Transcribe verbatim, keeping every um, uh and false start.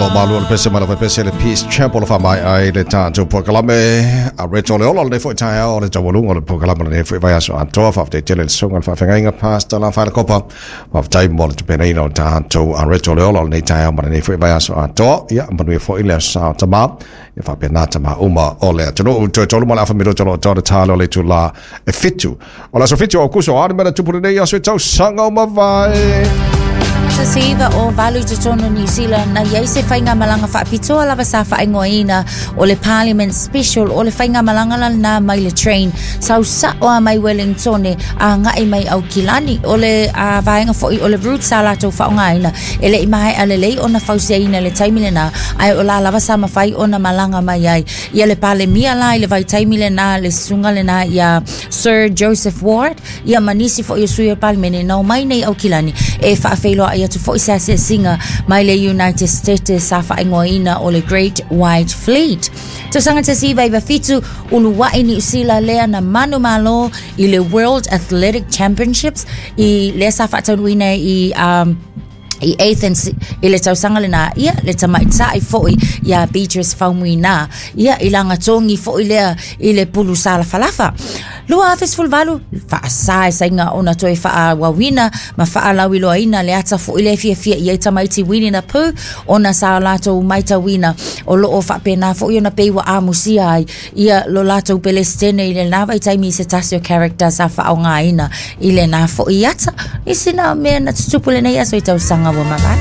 Lo malu o le pese ma le pese le Peace Chapel fa mai ai le tātou polokalame a Reto le Ola le foi taeao o le taualuga o le polokalame lenei foi vaiaso atoa. Faafetai tele i le susuga i le faafeagaiga Pastor Lafaele Kopa, faafetai mo le tapenaina o le tatou a Reto le Ola o lenei taeao ma lenei foi vaiaso atoa. Ia manuia foi le aso Sa o Tamā, ia faapena tamā uma o le atunuu. Toe tolu ma le afa minute o lo o toa le talo o le itulā e fitu o le aso fitu o Aokuso. A ni mea na tupu lenei aso i tausaga ua mavae? Tasi iva o valu i totonu o New Zealand, na i ai se faigamalaga faapitoa lava sa faaigoaina o le Parliament Special. O le faigamalaga la lena mai le train sau sa'o a mai Wellingtone agai mai Aukilani. O le a, vaega foi o le route sa latou faaaogaina e le i maea lelei ona fausiaina i le taimi lena, ae o la lava sa mafai ona malaga mai ai ia le Palemia la i le vaitaimi lena, le susuga lena ia Sir Joseph Ward, ia ma nisi foi o sui o le Palemene na omai nei Aukilani e faafeiloai atu foi se asiasiga mai le United States sa faaigoaina o le Great White Fleet. Tausaga tasi iva iva fitu, uluai Niu Sila lea na manumalo i le World Athletic Championships i lea sa faataunuuina i um, i Athens i le tausaga lena. Ia le tamaitai foi ia Beatrice Faumuina, ia i lagatogi foi lea i le pulu salafalafa. Lua afe sefulu valu, faasa e saiga ona toe faaauauina ma faalauiloaina le ata foi lea e fiafia i ai tamaiti Winnie the Pooh, ona sa latou matauina o loo faapena foi ona pei ua amusia ai ia lo latou Pelesitene i lena vaitaimi i se tasi o character sa faaaogaina i lena foi ata. I sina mea na tutupu lenei aso i tausaga ua mavae.